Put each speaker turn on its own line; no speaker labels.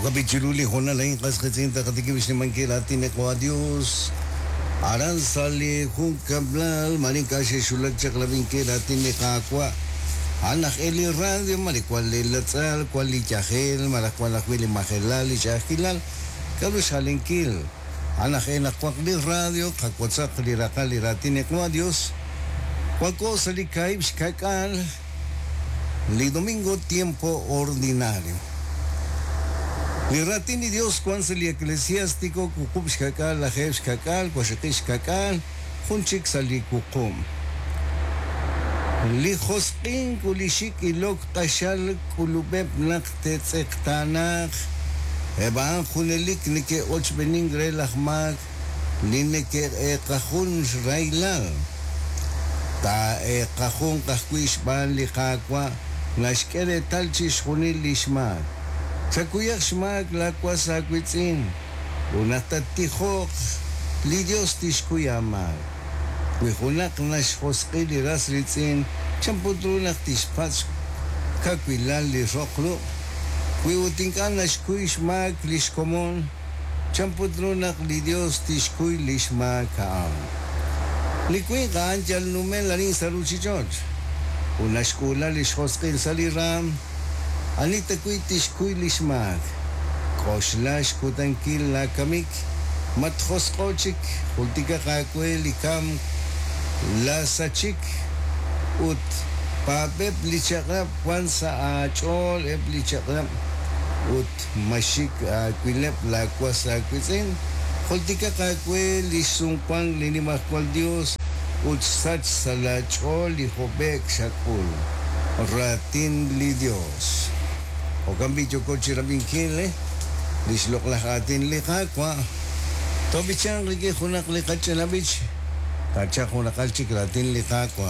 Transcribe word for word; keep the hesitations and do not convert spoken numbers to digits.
Okapichiru li hoonal a'in qas qiitz'in taqatikib' xnimankil raatin li Qaawa' Dios. Aran sa' li junkab'lal mare ink'a' xe'xulak chaq rab'inkil raatin li Qaawa'. A'an aj e li radio mare wan li latz'al, wan li yajel, malaj wan ajwi' li majelal, li ch'a'ajkilal. K'aru xjalenkil? A'an aj e naq waq li radio, qawotzaq li raqal li raatin li Qaawa' Dios. Wanko sa' li kaahib' xka'k'aal li domingo tiempo ordinario. Li raatin li Dios wan sa' li Eclesiástico wuqub' xka'k'aal lajeeb' xka'k'aal waqxaqib' xka'k'aal jun chik sa' li wuqub'. Li josq'ink ut li xik' ilok q'axal k'ulub'eb' naq te'tz'eqtaanaaq. Eb' a'an junelik neke'ochb'enink re laj maak li neke'eeqajun xrahilal. Taa'eeqajunq ajwi' xb'aan li Qaawa' naxk'e reetal chixjunil li xmaak. Chakuyaq xmaak laawas aawiitz'in ut naq tattijoq li Dios tixkuy aamaak. Wi junaq naxjosq'i li ras riitz'in, chan put ru naq tixpatz' xkawilal li roq ruq'? Wi ut ink'a' naxkuy xmaak li xkomon, chan put ru naq li Dios tixkuy li xmaak a'an? Li winq a'an yal numel arin sa' ruuchich'och' ut naxk'uula li xjosq'il sa' li raam. Ani tawi' tixkuy li xmaak? K'oxla xkutankil laakamik, matjosq'o chik, jultikaq aawe li kamk, laasachik ut paab'eb' li chaq'rab' wan sa' aach'ool eb' li chaq'rab' ut maxik aawileb' laawas aawiitz'in. Jultikaq aawe li xsumwank li Nimajwal Dios ut xsach sa' laach'ool li hob'e'k xak'ul. Raatin li Dios. Jo'kan b'i' yooko chi rab'inkil li xloq'laj aatin li Qaawa'. Toob'ichanq rik'in junaq li qach'ina b'ich. Taachaq jun raqal chik raatin li Qaawa'.